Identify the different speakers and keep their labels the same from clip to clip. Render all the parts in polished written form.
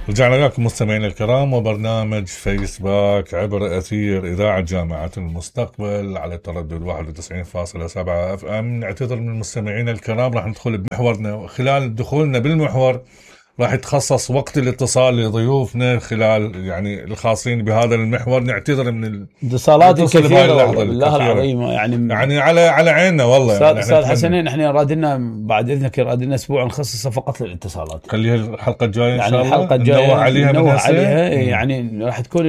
Speaker 1: رجعنا لكم مستمعينا الكرام وبرنامج فيسباك عبر أثير إذاعة جامعة المستقبل على تردد 91.7 اف ام. نعتذر من المستمعين الكرام، راح ندخل بمحورنا، وخلال دخولنا بالمحور راح يتخصص وقت الاتصال لضيوفنا خلال يعني الخاصين بهذا المحور. نعتذر من
Speaker 2: الاتصالات الكثيرة بالله العظيم، يعني
Speaker 1: على عيننا والله.
Speaker 2: استاذ حسنين، احنا رادنا بعد اذنك رادنا اسبوع نخصصه فقط للاتصالات.
Speaker 1: خليها الحلقة الجاية ان شاء الله،
Speaker 2: الحلقة الجاية
Speaker 1: نوع عليها
Speaker 2: يعني راح تكون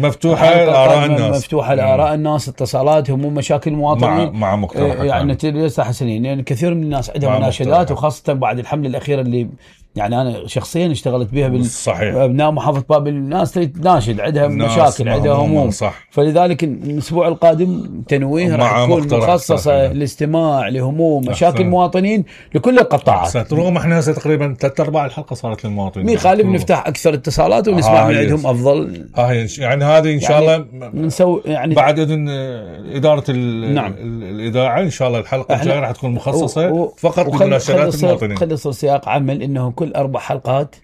Speaker 1: مفتوحة لآراء الناس،
Speaker 2: مفتوحة لآراء الناس، اتصالات، هموم، مشاكل المواطنين
Speaker 1: مع مقترحات.
Speaker 2: يعني استاذ حسنين، يعني كثير من الناس عندهم مناشدات، وخاصة بعد الحملة الأخيرة اللي يعني أنا شخصيا اشتغلت بها بأبناء محافظة بابل. الناس تناشد، عندها مشاكل، عندها هموم، فلذلك الأسبوع القادم تنويه راح تكون مخصصة للاستماع لهموم مشاكل المواطنين لكل القطاعات.
Speaker 1: رغم احنا هسه تقريبا 3/4 الحلقة صارت للمواطنين،
Speaker 2: مي خالف نفتح أكثر اتصالات ونسمع من عندهم أفضل.
Speaker 1: يعني هذه إن شاء الله
Speaker 2: نسوي يعني
Speaker 1: بعد إذن إدارة الإذاعة إن شاء الله الحلقة الجاية راح تكون مخصصة فقط لمناشدات المواطنين.
Speaker 2: خلي يصير سياق عمل إنه كل 4 حلقات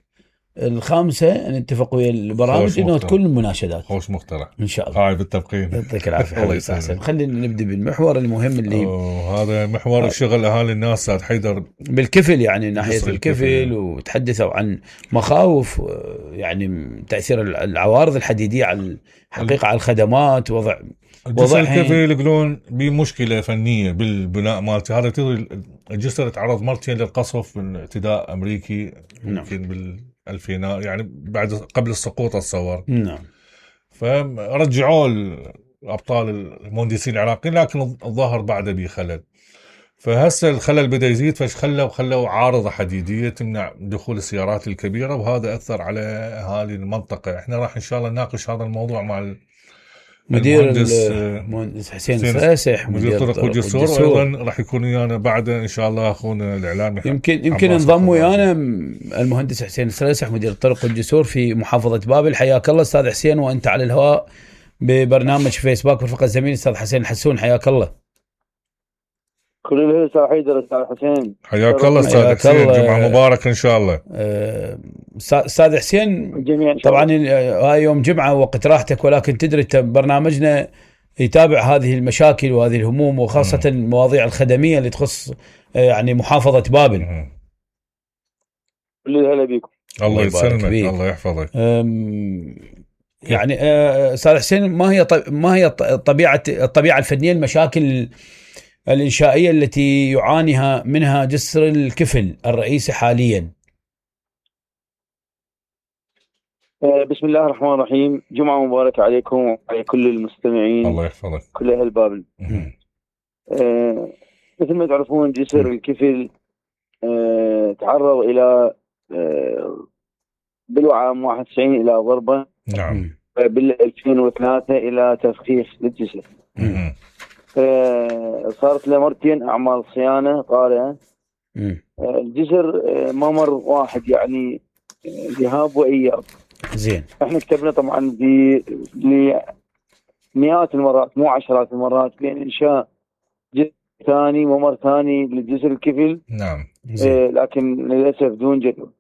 Speaker 2: الخامسة نتفق ويا البرامج إنه تكون المناشدات.
Speaker 1: خوش مقترح
Speaker 2: إن شاء الله.
Speaker 1: هاي بالتبقين.
Speaker 2: يعطيك العافية. الله يسعدك. خلينا نبدأ بالمحور المهم اللي
Speaker 1: هذا محور الشغل أهالي الناس. سعد حيدر
Speaker 2: بالكفل، يعني ناحية الكفل، وتحدثوا عن مخاوف يعني تأثير العوارض الحديدية على الحقيقة على الخدمات. وضع
Speaker 1: الكفل يقولون بمشكلة فنية بالبناء مالتي. هذا تدري الجسر تعرض مرتين للقصف من اعتداء أمريكي يمكن بالألفينات، يعني بعد قبل السقوط اتصور.
Speaker 2: نعم.
Speaker 1: فرجعوا الأبطال المهندسين العراقيين، لكن الظاهر بعد بخلل. فهسه الخلل بدأ يزيد، خلوا عارضة حديدية تمنع دخول السيارات الكبيرة، وهذا أثر على أهالي المنطقة. احنا راح إن شاء الله نناقش هذا الموضوع مع
Speaker 2: المهندس حسين السراسح،
Speaker 1: مدير طرق والجسور، وايضا راح يكون ويانا بعد ان شاء الله اخونا الاعلامي
Speaker 2: يمكن انضم ويانا المهندس حسين السراسح مدير طرق والجسور في محافظة بابل. حياك الله استاذ حسين، وانت على الهواء ببرنامج فيسبوك برفقة الزميل استاذ حسين الحسون. حياك الله.
Speaker 3: كل الهلا استاذ حيدر. استاذ حسين
Speaker 1: حياك الله استاذ حسين، جمعة مباركة ان شاء الله.
Speaker 2: استاذ حسين، طبعا هاي يوم جمعة وقت راحتك، ولكن تدري برنامجنا يتابع هذه المشاكل وهذه الهموم، وخاصة المواضيع الخدمية اللي تخص يعني محافظة بابل.
Speaker 3: كل الهلا بكم.
Speaker 1: الله يسلمك، الله يحفظك.
Speaker 2: يعني استاذ حسين، ما هي الطبيعة الفنية المشاكل الإنشائية التي يعانيها منها جسر الكفل الرئيسي حاليا؟
Speaker 3: بسم الله الرحمن الرحيم. جمعة مباركة عليكم وعلى كل المستمعين.
Speaker 1: الله يحفظك.
Speaker 3: كل أهل بابل. مثل ما تعرفون جسر الكفل تعرض إلى بالعام 91 إلى ضربة.
Speaker 1: نعم.
Speaker 3: بال 2003 إلى تفخيخ للجسر. صارت له مرتين أعمال صيانة طارئة. الجسر ما مر واحد، يعني ذهاب وإياب.
Speaker 2: زين.
Speaker 3: احنا كتبنا طبعا مئات المرات مو عشرات المرات بين إنشاء جسر ثاني ومر ثاني للجسر الكفل.
Speaker 1: نعم.
Speaker 3: لكن للأسف دون جدوى.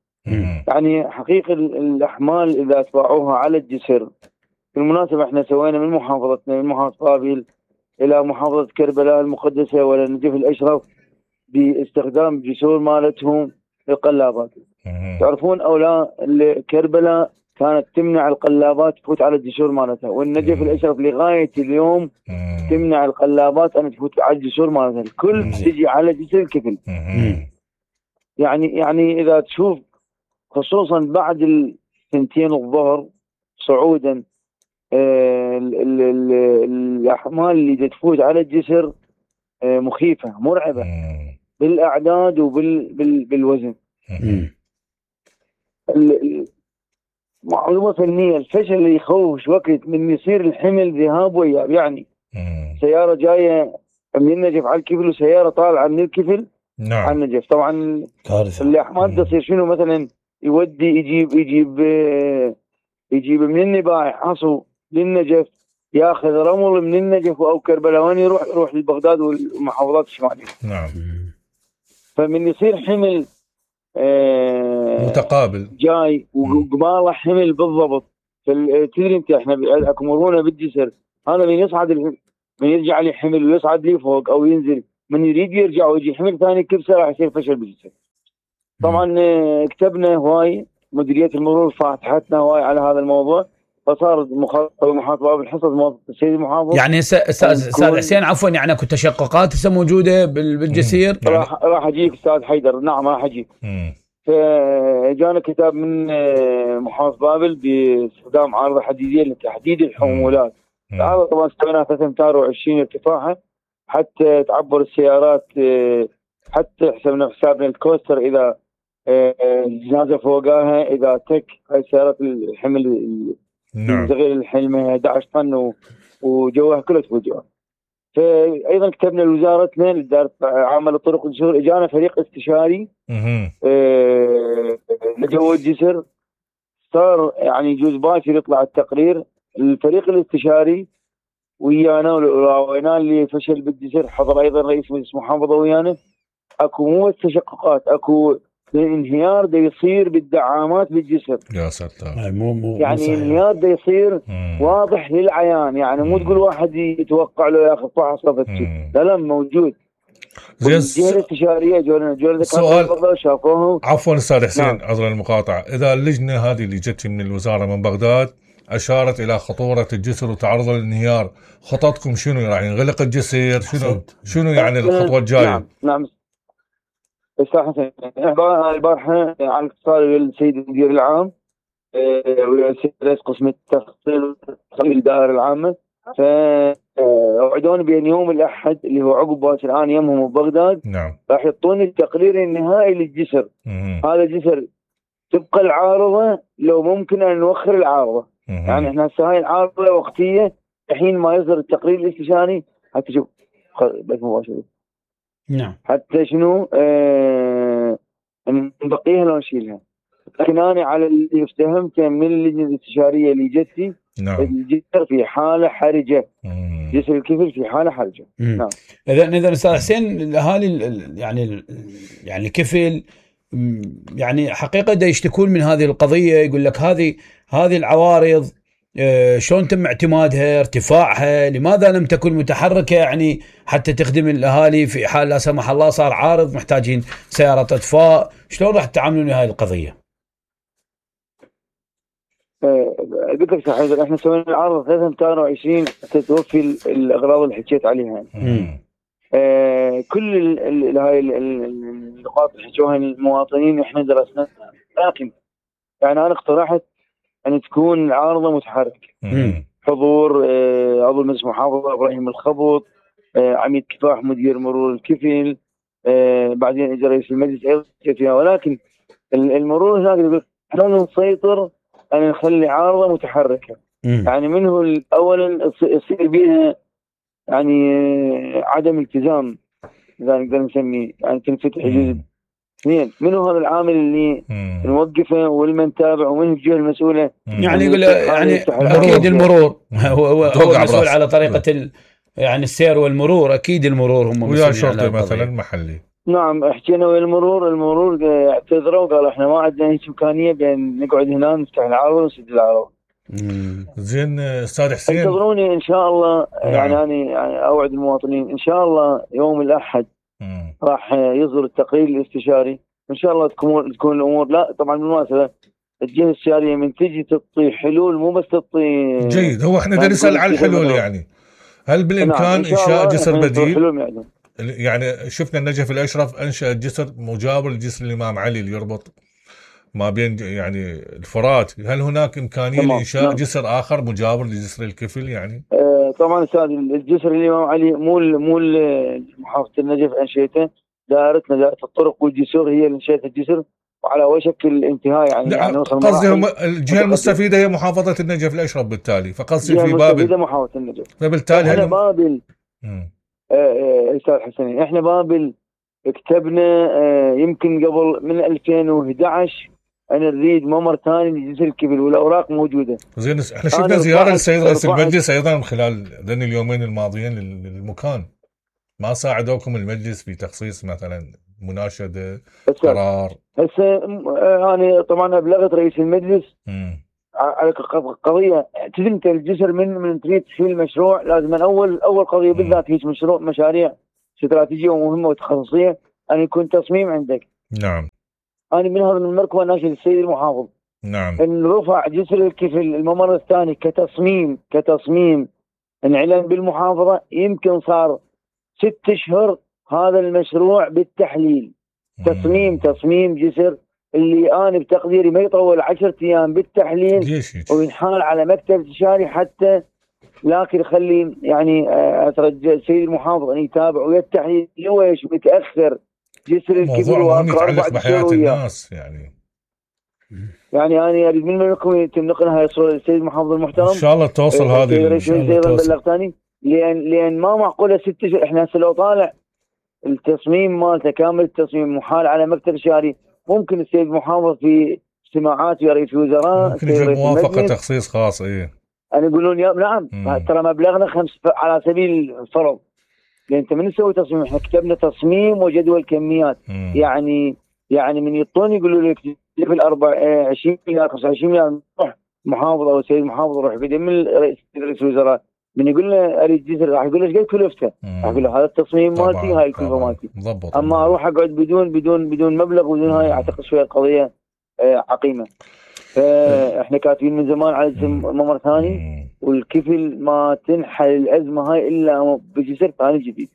Speaker 3: يعني حقيقة الأحمال إذا أتباعوها على الجسر. بالمناسبة احنا سوينا من محافظتنا من محافظة بابل إلى محافظة كربلاء المقدسة ولا نجف الأشرف باستخدام جسور مالتهم للقلابات. تعرفون أو لا، كربلاء كانت تمنع القلابات تفوت على الجسور مالتها، والنجف الأشرف لغاية اليوم تمنع القلابات أن تفوت على الجسور مالتها. الكل تجي على جسر الكفل. يعني إذا تشوف خصوصا بعد الثنتين الظهر صعودا الأحمال اللي تفوت على الجسر مخيفة مرعبة بالأعداد وبالوزن. معلومة فنية، الفشل اللي يخوف وقت من يصير الحمل ذهاب وإياب. يعني سيارة جاية من النجف على الكفل وسيارة طالعة من الكفل على النجف. طبعا الأحمال تصير شنو؟ مثلا يودي يجيب من النباع حصو للنجف، ياخذ رمل من النجف او كربلاء يروح لبغداد والمحافظات الشماليه.
Speaker 1: نعم.
Speaker 3: فمن يصير حمل
Speaker 1: متقابل
Speaker 3: جاي وقباله حمل بالضبط. تدري انت احنا اكو مرونه بالجسر، هذا من يصعد من يرجع لي حمل ويصعد لي فوق او ينزل، من يريد يرجع ويجي حمل ثاني كبسه راح يصير فشل بالجسر. طبعا كتبنا هواي، مديريه المرور فاتحتنا هواي على هذا الموضوع، فصار محافظ باب الحصص موظف السيد المحافظ.
Speaker 2: يعني استاذ حسين عفوا، يعني اكو تشققات هسه موجوده بالجسير؟
Speaker 3: راح اجيك استاذ حيدر، نعم راح اجيك. فجانا كتاب من محافظ بابل باستخدام عارضه حديديه لتحديد الحمولات. هذا طبعا استخدمناها 3 امتار و20 ارتفاعها حتى تعبر السيارات، حتى حسابنا الكوستر اذا الجنازه فوقاها، اذا تك هاي السيارات الحمل صغير الحمل 11 طن وجوها كله تفوت. فايضا كتبنا لوزارتنا لاداره عامه الطرق والجسور، اجانا فريق استشاري لجو الجسر، صار يعني يجوز باكر يطلع التقرير. الفريق الاستشاري ويانا وراوينا اللي فشل بالجسر، حضر ايضا رئيس مجلس محافظه ويانا. اكو مو تشققات، اكو انهيار دا يصير بالدعامات بالجسر.
Speaker 1: يا ساتر،
Speaker 3: يعني انهيار دا يصير واضح للعيان، يعني مو تقول واحد يتوقع له ياخذ فحص لا موجود. الجهه الاستشاريه جولنا
Speaker 1: سؤال
Speaker 3: شافوه.
Speaker 1: عفوا استاذ حسين، عذرا المقاطعه، اذا اللجنه هذه اللي جت من الوزاره من بغداد اشارت الى خطوره الجسر وتعرض للانهيار، خططكم شنو؟ يعني ينغلق الجسر؟ شنو يعني الخطوه الجايه؟
Speaker 3: نعم استاذ حسين، البارحه على اتصال بالسيد المدير العام والسيد رئيس قسم التخطيط الدائره العامه، فوعدوني بان يوم الاحد اللي هو عقب باكر انا يمهم ببغداد،
Speaker 1: نعم،
Speaker 3: راح يعطوني التقرير النهائي للجسر. هذا الجسر تبقى العارضه لو ممكن ان نوخر العارضه. يعني احنا هسه هاي العارضه وقتيه الحين ما يصدر التقرير الاستشاري حتى شوف بس مباشره.
Speaker 2: نعم،
Speaker 3: حتى شنو نبقيها لو نشيلها. لكن انا على اللي افتهمته من اللجنه الاستشاريه اللي جتي،
Speaker 1: نعم،
Speaker 3: الجسر في حاله حرجه، جسر الكفل في حاله حرجه. نعم.
Speaker 2: اذا استاذ حسين، الاهالي يعني الكفل يعني حقيقه دا يشتكون من هذه القضيه، يقول لك هذه العوارض شلون تم اعتمادها، ارتفاعها، لماذا لم تكن متحركه يعني حتى تخدم الاهالي في حال لا سمح الله صار عارض محتاجين سياره اطفاء، شلون راح تتعاملون مع هذه القضيه؟
Speaker 3: قلت لك حيدر، احنا سوينا العرض 23 تتوفي الاغراض اللي حكيت عليها. كل هاي النقاط اللي حكوها المواطنين احنا درسناها، لكن يعني انا اقترحت ان تكون العارضه متحركه. حضور عضو مجلس محافظه ابراهيم الخبط، عميد كفاح مدير مرور الكفل، بعدين اجى رئيس المجلس ايضا، ولكن المرور هناك يقول احنا نسيطر ان نخلي عارضه متحركه. يعني منه اولا يصير بها يعني عدم التزام، اذا نقدر نسميه، يعني تنفتح جزء. اثنين، منه هذا العامل اللي نوقفه والمن نتابع، ومنه الجهه المسؤوله.
Speaker 2: يعني يقول يعني اكيد المرور هو مسؤول على طريقه يعني السير والمرور، اكيد المرور هم مسؤولين
Speaker 1: ويا شرطه مثلا محلي.
Speaker 3: نعم، حكينا ويا المرور اعتذروا وقالوا احنا ما عندنا هيك امكانيه بان نقعد هنا نفتح العرض ونسد العرض.
Speaker 1: زين استاذ حسين،
Speaker 3: انتظروني ان شاء الله. يعني انا اوعد المواطنين ان شاء الله يوم الاحد راح يصدر التقرير الاستشاري، ان شاء الله تكون الامور. لا طبعا بالمناسبه الجهه الاستشاريه من تجي تعطي حلول، مو بس تعطي
Speaker 1: جيد. هو احنا بدنا نسال على الحلول، يعني هل بالامكان انشاء جسر بديل؟ يعني شفنا النجف الاشرف انشا جسر مجاور لجسر الامام علي اللي يربط ما بين يعني الفرات، هل هناك امكانيه لانشاء جسر اخر مجاور لجسر الكفل؟ يعني
Speaker 3: طبعا استاذ، الجسر الامام علي مو محافظه النجف انشيته، دائرتنا دائره الطرق والجسور هي اللي انشئت الجسر وعلى وشك الانتهاء. يعني
Speaker 1: قصدي هم الجهه المستفيده هي محافظه النجف الاشرف، بالتالي فقصدي في بابل
Speaker 3: محافظه النجف.
Speaker 1: فبالتالي
Speaker 3: احنا بابل استاذ حسين، احنا بابل كتبنا يمكن قبل من 2011 أنا نريد ممر ثاني لجسر الكفل والأوراق موجودة.
Speaker 1: زين، احنا شفنا زيارة للسيد رئيس المجلس أيضا خلال اليومين الماضيين للمكان، ما ساعدوكم المجلس في تخصيص مثلا مناشده قرار.
Speaker 3: هسه انا طبعا ابلغت رئيس المجلس على قضيه. تدري انت الجسر من تريد تشيل المشروع لازم اول قضيه بالذات هيك مشاريع استراتيجيه ومهمه وتخصصيه ان يكون تصميم عندك.
Speaker 1: نعم.
Speaker 3: انا من هذا المركبه ناشد السيد المحافظ.
Speaker 1: نعم.
Speaker 3: ان رفع جسر الكفل الممر الثاني كتصميم انعلن بالمحافظه. يمكن صار 6 أشهر هذا المشروع بالتحليل. تصميم جسر اللي انا بتقديري ما يطول 10 ايام بالتحليل وينحال على مكتب استشاري حتى. لكن خلي يعني اترجى السيد المحافظ ان يتابع ويا التحليل ليش متاخر جسر الكبير
Speaker 1: ويتعلق بحياه الناس
Speaker 3: يعني انا اريد منكم يتم نقل هاي الصوره للسيد المحافظ المحترم.
Speaker 1: ان شاء الله توصل هذه
Speaker 3: ان شاء الله بلغتني لان ما معقوله 6 اشهر. احنا هسه لو طالع التصميم مالته كامل التصميم محال على مكتب استشاري. ممكن السيد المحافظ في اجتماعات ويا رئيس الوزراء
Speaker 1: ممكن يجيب موافقه تخصيص خاص.
Speaker 3: أنا يقولون نعم ترى مبلغنا 5 على سبيل الفرض. لأن أنت من نسوي تصميم احنا كتبنا تصميم وجدول كميات. يعني من يطون يقولوا لك في 20 مليار 25 مليار روح محافظ او سيد محافظ روح بدم رئيس الوزراء من يقول له اريد جسر راح يقول له ايش قد كلفته؟ راح يقول له هذا التصميم مالتي هاي الكلفه مالتي. اما اروح اقعد بدون مبلغ بدون هاي اعتقد شويه القضيه عقيمه. فاحنا كاتبين من زمان على ممر ثاني والكفل ما تنحل الازمه هاي الا بجسر ثاني جديد.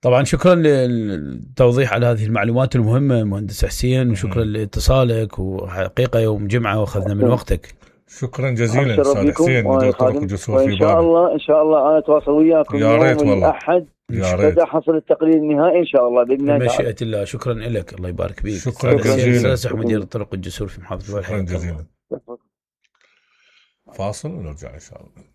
Speaker 2: طبعا شكرا للتوضيح على هذه المعلومات المهمه مهندس حسين وشكرا لاتصالك وحقيقه يوم جمعه واخذنا من وقتك.
Speaker 1: شكرا جزيلا استاذ حسين مدير طرق الجسور في بابل.
Speaker 3: ان شاء الله انا اتواصل وياكم
Speaker 1: يا ريت والله
Speaker 3: الاحد اذا حصل التقرير النهائي ان شاء الله باذن الله
Speaker 2: بمشيئه الله. شكرا لك الله يبارك فيك.
Speaker 1: شكرا جزيلا
Speaker 2: مدير طرق الجسور في محافظه
Speaker 1: شكرا جزيلا. فاصل ونرجع ان شاء الله.